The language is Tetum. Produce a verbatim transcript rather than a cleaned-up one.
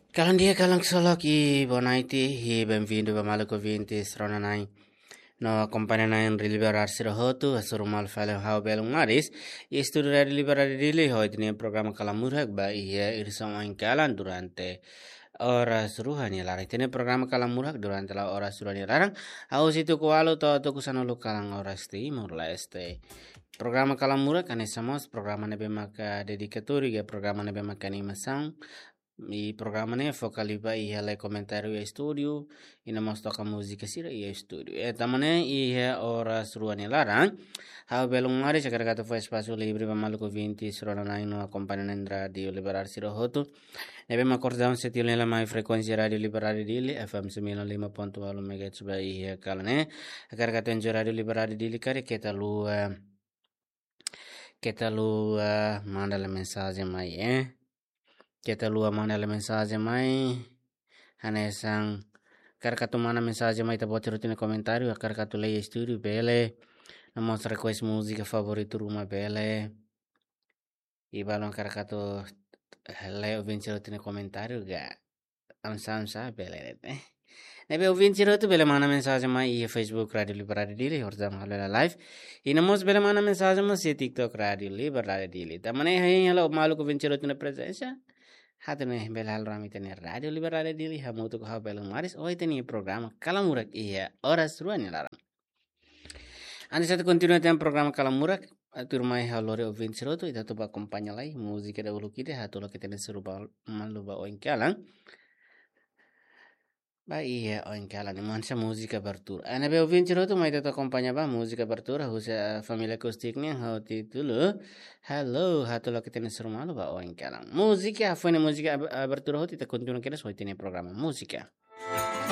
Kalan di'ak, kalan ksolok, i boa noite, i bem-vindu ba maluk ouvintes rona-na'in no akompaña na'in Rádiu Liberar sira hotu, hasoru malu fali ha'u Belun Maris, iha estúdiu Rádiu Liberar Dili, ho ita-nia programa Kalan Murak ba iha edisaun oin kalan durante oras rua nia laran. Ita-nia programa Kalan Murak durante la oras rua nia laran, hahú husi tuku ualu to'o tuku sanulu kalan oras Timor-Leste. Programa Kalan Murak hanesan mós programa ne'ebé maka dedikatóriu, ka programa ne'ebé maka animasaun. I programa ne'e foka liu ba iha lee komentáriu iha estúdiu, i no mós toka múzika sira iha estúdiu. I tanba ne'e iha oras rua nia laran, ha'u Belun Maris hakarak atu fó espasu livre ba maluk ouvintes rona-na'in no akompaña na'in Rádiu Liberar sira hotu ne'ebé mak kordon setiu hela mai frekuénsia Rádiu Liberar Dili, F M sembilan lima ponto walu megahertz ba iha kalan ne'e. Hakarak atu enjoy Rádiu Liberar Dili karik keta haluha, keta haluha manda lee mensajen mai, eh. Keta haluha manda lee mensajen mai. Hanesan hakarak atu manda mensajen mai, ita-boot sira hotu-nia komentáriu, hakarak atu lee iha estúdiu bele. No mós request múzika favoritu ruma bele. I balu hakarak atu lee ouvinte sira hotu-nia komentáriu ka? Amsa, amsa, bele, eh. Ne'ebé ouvinte sira hotu bele manda mensajen mai iha Facebook Rádiu Liberar Dili, horizontal halo hela live. I no mós bele manda mensajen mós iha TikTok Rádiu Liberar Dili. Tanba ne'e hein hela maluk ouvinte sira hotu-nia prezensa. Atu nune'e bele halo rame ita-nia Rádiu Liberar Dili, hamutuk ho ha'u Belun Maris, ho ita-nia programa Kalan Murak iha oras rua nia laran. Antes atu kontinua tiha programa Kalan Murak, atu mai ha'u lori ouvinte sira hotu, ita atu ba akompaña lai múzika dahuluk ida, hatolok ita-nia hasoru malu ba oin kalan. Ba iha oin kalan ne'e hanesan múzika abertura. Ne'ebé ouvinte sira hotu mai ita atu akompaña ba múzika abertura husi, eh, família Acústica nian ho títulu Hello, hatolok ita-nia hasoru malu ba oin kalan. Múzika, hafoin múzika ab-, abertura hotu, ita kontinua kedas ho ita-nia programa múzika.